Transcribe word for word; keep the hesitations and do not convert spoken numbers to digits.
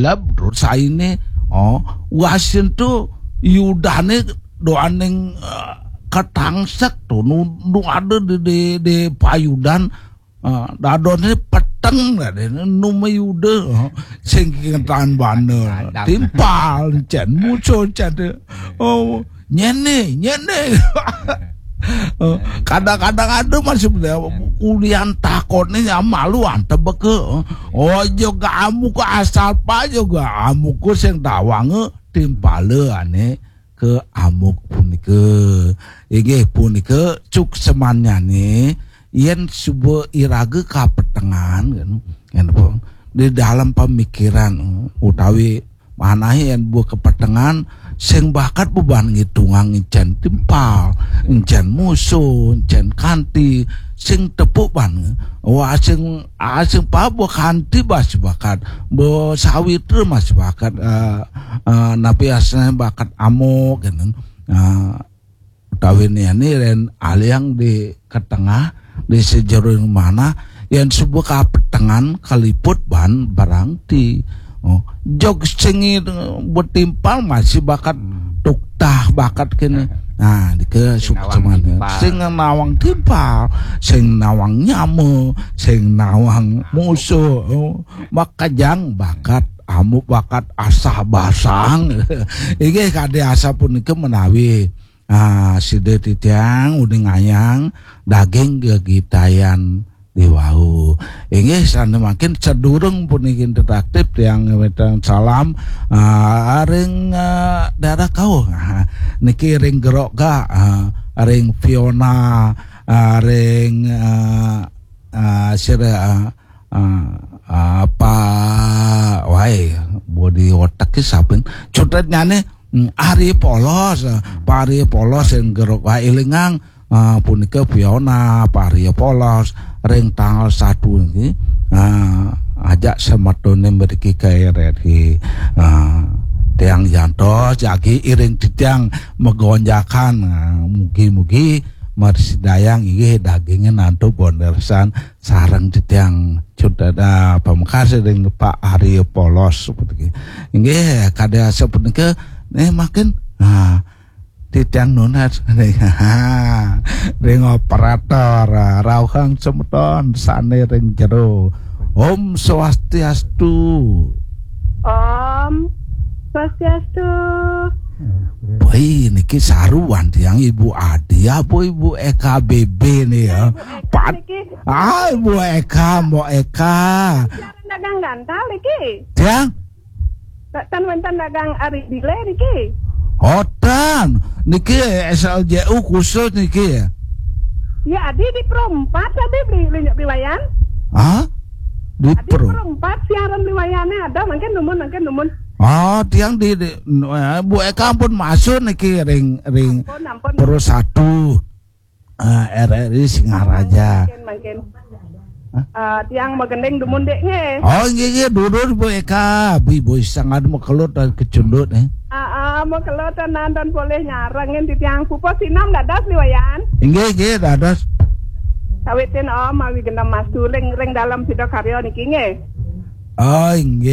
Lah, terus saine, oh, wasin tu yudane doaning, eh, ketangsek tu, nu, nu ada di, di, di payudan, eh, dadone peteng lah deh, nu mayuda, oh, sing kentan bana, timpal, cen, musuh, cen, oh, nyene, nyene. Oh, kadang-kadang ada masih ulian takone ya malu antep ke. Oh, juga amuk asal pa juga amuk sing dawange timpale ane ke amuk punika. Inggih punika cuk semanyane yen suba iraga kapetengan, kan, kan apa? Di dalam pemikiran utawi manahe yen buah kepetengan sing bakat beban ngitungang encen timpal, encen musuh, encen kanti, sing tepuk ban. Wah, sing, ah, sing pa buah kanti bas bakat, buah sawitra mas bakat, eh, eh, napi asne bakat amuk, gitu. Ah, utawi niani ren aliang di ketengah, di sejeroing mana, yen suba kapetengan kaliput ban barang ti. Oh, jog sing i-, betimpal masih bakat tuktah bakat kene. Nah, dike sing nawang timpal. Sing nawang timpal, sing nawang nyama, sing nawang musuh. Oh, makajang bakat, amuk bakat asah basang. Inggih kade asal punika menawi, ah, sida titiang uning ayang daging gegitayan di wau. Inggih, sane mangkin sedurung puniki interaktif tiang ngawitang salam, ah, ring, ah, daerah Kauh. Ah, niki ring Gerok Ga, ah, ring Fiona, ah, ring, ah, ah, sira, ah, ah, ah, Pa, wai, bodi otak ki sapin. Cutetnyane, hmm, Ari Polos, ah, Pa Ari Polos ring Gerok Ga ilingang, ah, punika Fiona, Pa Ari Polos ring tanggal satu niki. Ah, ajak semetone mriki ka R R I. Ah, tiang jantos jagi iring titiang magonjakan. Ah, mugi-mugi mrasidayang inggih daginge nantu bondersan sareng titiang Cut Dada pamekase ring Pak Arya Polos puniki. Inggih, kade asapunika, eh, makin, ah, titiang nunas ring, ring operator, ah, rauhang semeton sane ring jero. Om Swastiastu. Om Swastiastu. Woi, niki saruan tiang Ibu Adi apa Ibu Eka B B nih ya? Ibu Eka Pat-, niki. Ah, Ibu Eka, Mbok Eka. Siaran dagang gantal niki. Tiang? Tan wenten dagang ari bile niki. Oh, tan. Niki S L J U khusus niki. Ya, Adi di Pro empat tadi beli, beli, beli Wayan. Hah? Di Adi Pro. Pro empat siaran beli Wayane ada, mungkin numun, mungkin numun. Oh, tiang di, di, eh, Bu Eka ampun masuk niki ring, ring Ampun, ampun. Pro satu. Eh, R R I Singaraja. Mungkin, mungkin. Hah? Eh, tiang magending dumun dek nggih. Oh, nggih, nggih, durus Bu Eka, Bu, Bu sangat makelut dan kecundut, eh. Ah, ah, makelut dan, dan boleh nyarengin di tiang pupus sinom dados liwayan. Nggih, nggih, dados. Sawitin Om, mawi genep mastu ring, ring dalam sida karya niki nggih. Oh, nggih.